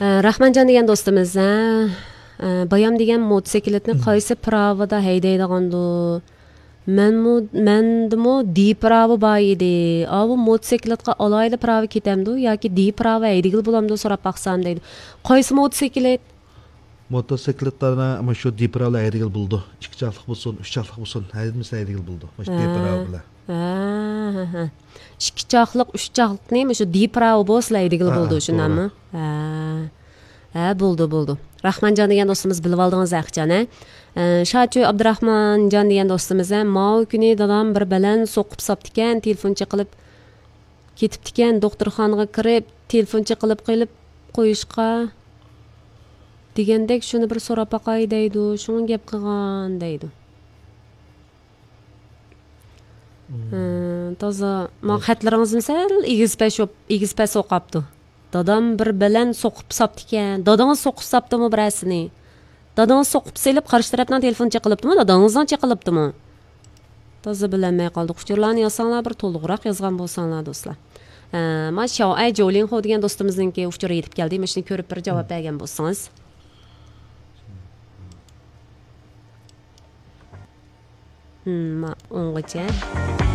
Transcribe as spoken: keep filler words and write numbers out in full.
ئە، راخمانجان دېگەن دوستىمىز، ھە، ئە، بايام دېگەن موتوسىكلىتنى قايسى پىراۋىدا ھەيدەيدىغاندۇ؟ مەنمۇ، مەندىمۇ دى پىراۋا بار ئىدى. ئاۋۇ موتوسىكلىتقا ئالاھىدە پىراۋا كېتەمدۇ ياكى دى پىراۋا ھەيدىگىلى بولامدۇ سوراپ باقسام دەيدۇ. قايسى موتوسىكلىت؟ موتوسىكلىتلارنى مۇشۇ دى پىراۋا ھەيدىگىلى بولىدۇ. ئىككى چاقلىق بولسۇن، ئۈچ چاقلىق بولسۇن، ھەيدىمىسە ھەيدىگىلى بولىدۇ. مۇشۇ دى پىراۋا بىلەن. ھە، ھە، ھە. ئىككى چاقلىق، ئۈچ چاقلىقنى مۇشۇ دى پىراۋا بولسىلا ھەيدىگىلى بولىدۇ، شۇنداقمۇ؟ ھە. ھە، بولدى، بولدى. راخمانجان دېگەن دوستىمىز بىلىۋالدىڭىز ھەقىچان، ھە؟ ئە، شاچۆ ئابدۇراخمانجان دېگەن دوستىمىز، ھە، ماۋۇ كۈنى دادام بىر بەلەن سوقۇپ ساپتىكەن، تېلېفون چېقىلىپ كېتىپتىكەن، دوختۇرخانىغا كىرىپ تېلېفون چېقىلىپ قېلىپ قويۇشقا دېگەندەك شۇنى بىر سوراپ باقاي دەيدۇ، شۇڭا گەپ قىلغان دەيدۇ. ھە، تازا ما خەتلىرىڭىزمۇ سەل ئېگىز پەس ئوقاپتۇ. دادام بىر بەلەن سوقۇپ ساپتىكەن. دادىڭىز سوقۇپ ساپتىمۇ بىرەرسىنى؟ دادىڭىز سوقۇپ سېلىپ قارشى تەرەپنىڭ تېلېفونى چېقىلىپتىمۇ، دادىڭىزنىڭ چېقىلىپتىمۇ؟ تازا بىلەلمەي قالدۇق. ئۇچۇرلارنى يازساڭلار بىر تولۇقراق يازغان بولساڭلار دوستلار. ھە، ما شاۋئەي جولىڭخو دېگەن دوستىمىزنىڭكى ئۇچۇرى يېتىپ كەلدى. مانا شۇنى كۆرۈپ بىر جاۋاب بەرگەن بولسىڭىز. ھىم، ما ئوڭغىچە.